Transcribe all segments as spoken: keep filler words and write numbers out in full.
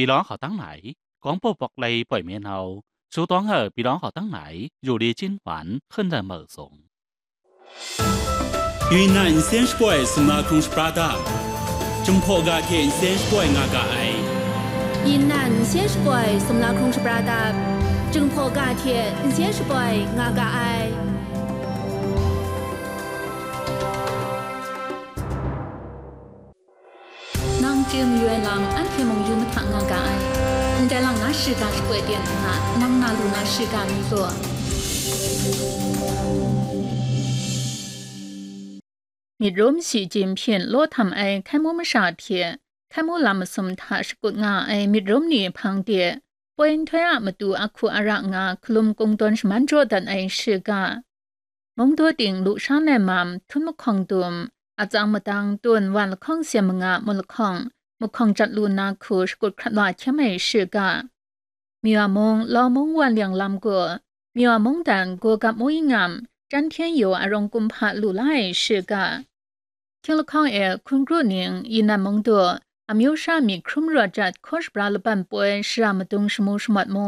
ပြည်လောင်းဟောက်တန်းနိုင် ကောင်းပုပ်ပွက်လီပွက်မျဉ်းနှောင်း စူးသွမ်းဟောက်ပြည်လောင်းဟောက်တန်းနိုင် ယူလီကျင်းပန် ဟွန်းတန်မုတ်ဆုံး Yunnan Nsen Shapoi Sumla Hkrung Shapra Dap, Jinghpaw ga hte nsen shapoi nga ga ai. Yunnan Nsen Shapoi Sumla Hkrung Shapra Dap, Jinghpaw ga hte nsen shapoi nga ga ai. Nang chye mayu ai lam anhte mung yu mahta nga ga ai. Ndai lang na shiga shapoi ten nna, nang na lu na shiga mi gaw. Myit rum Shi Jinpying law htam ai hkai mu masha hte hkai mu lam masum hta shakut nga ai myit rum ni hpang de, poi nhtoi a matu ahku ara nga hkalum kungdawn shaman jaw dat ai shiga. Mungdaw ting lusha nai mam, htum mahkawng dum, atsang madang tun wan lahkawng syen manga mu lahkawng, mahkawng jat lu na hku shakut hkrat wa hkyem ai shiga. Myaw mung, Lau mung wan liang lam gaw, Myaw mungdan Gogap mung ngam, Chyan Hkyen Yaw arawng kumhpa lu la ai shiga. Hkying lahkawng e hkun kru ning, Yunnan mung daw, amyu sha myit hkrum rawt jat hkaw shabra laban poi shara madung shamu shamawt mu,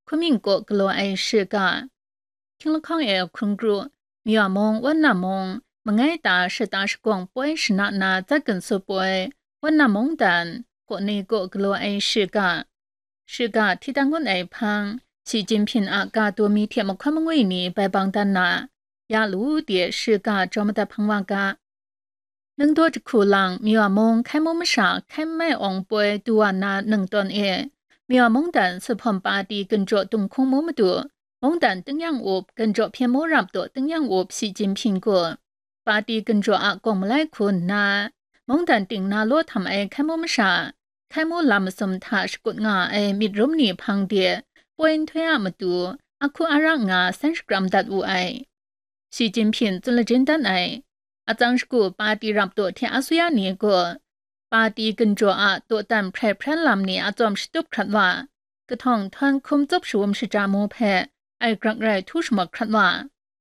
hkumying kaw galaw ai shiga. Hkying lahkawng e hkun kru, Myaw mung, Wan na mung, mangai ta shata shagawng poi shana na zat ginsu poi, Wan na mungdan, kaw ni kaw galaw ai shiga. Shiga hti dan ngun ai hpang, Shi Jinpying a ga daw mi hte mahkawn mangwi ni bai bang dan na, ya lu de shiga jaw madat hpang wa ga. Ningdaw jahku lang Myaw mung hkai mu masha hkai mai awng poi du wa na ningtawn e, Myaw mungdan Suphawm Pati ginjaw dunghkung mu madu, mungdan tingnyang up, ginjaw hpyen mu rap taw tingnyang up Shi Jinpying gaw, Pati ginjaw a gawng malai hku nna, mungdan ting na law htam ai hkai mu masha, hkai mu lam masum hta shakut nga ai myit rum ni hpang de, poi nhtoi a matu, ahku ara nga san shakram dat wu ai. Shi Jinpying tsun lajin dan ai, atsang shagu pati rap taw hte asuya ni gaw, pati ginjaw a dawdan hprai hpran lam ni a tsawm shatup hkrat wa, kahtawng htawn hkum tsup shawum shaja mu hpe ai grak rai htu shamawt hkrat wa,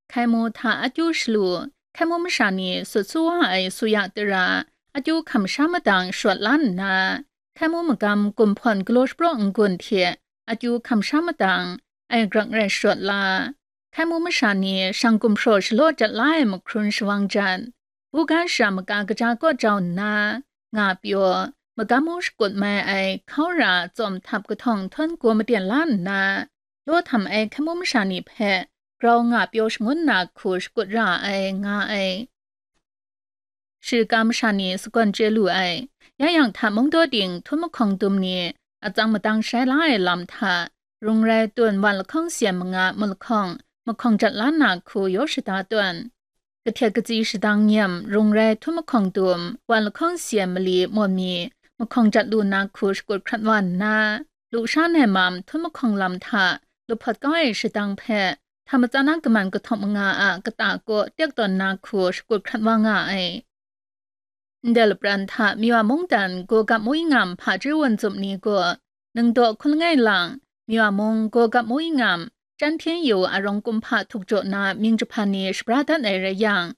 hkai mu hta akyu shalu, hkai mu masha ni sut su wa ai suya tara, akyu hkam sha madang shawt la nna, hkai mu magam gumhpawn galaw shapraw n-gun hte akyu hkam sha madang ai grak rai shawt la, hkai mu masha ni shang gumhpraw shalaw jat la ai mahkrun shawang jat, buga shara maga kaja kaw jau nna, nga pyaw, magam mu shakut mai ai hkau ra tsawm htap kahtawng htawn gaw maten la nna, law htam ai hkai mu masha ni hpe grau nga pyaw shangun na hku shakut ra ai, nga ai. Shiga masha ni sagawn chye lu ai. Ya yang hta mungdaw ting htum mahkawng dum ni, atsang madang shai la ai lam hta, rung rai tun wan lahkawng syen manga mu lahkawng, mahkawng jat la na hku yaw shada tawn. Kahtet katsi shadang nyem, rung rai htum mahkawng dum, wan lahkawng syen mali mawn mi, mahkawng jat lu na hku shakut hkrat wa nna, lusha nai mam htum mahkawng lam hta, luphawt kau ai shadang hpe, hta matsan a kaman kahtawng manga a kata kaw tek tawn na hku shakut hkrat wa nga ai. Ndai lapran hta Myaw mungdan Gogap mung ngam hpaji wun tsup ni gaw, ningdaw hkun langai lang, Myaw mung Gogap mung ngam, Chyan Hkyen Yaw arawng kumhpa htuk jaw na mying jahpan ni shabra dat ai rai yang,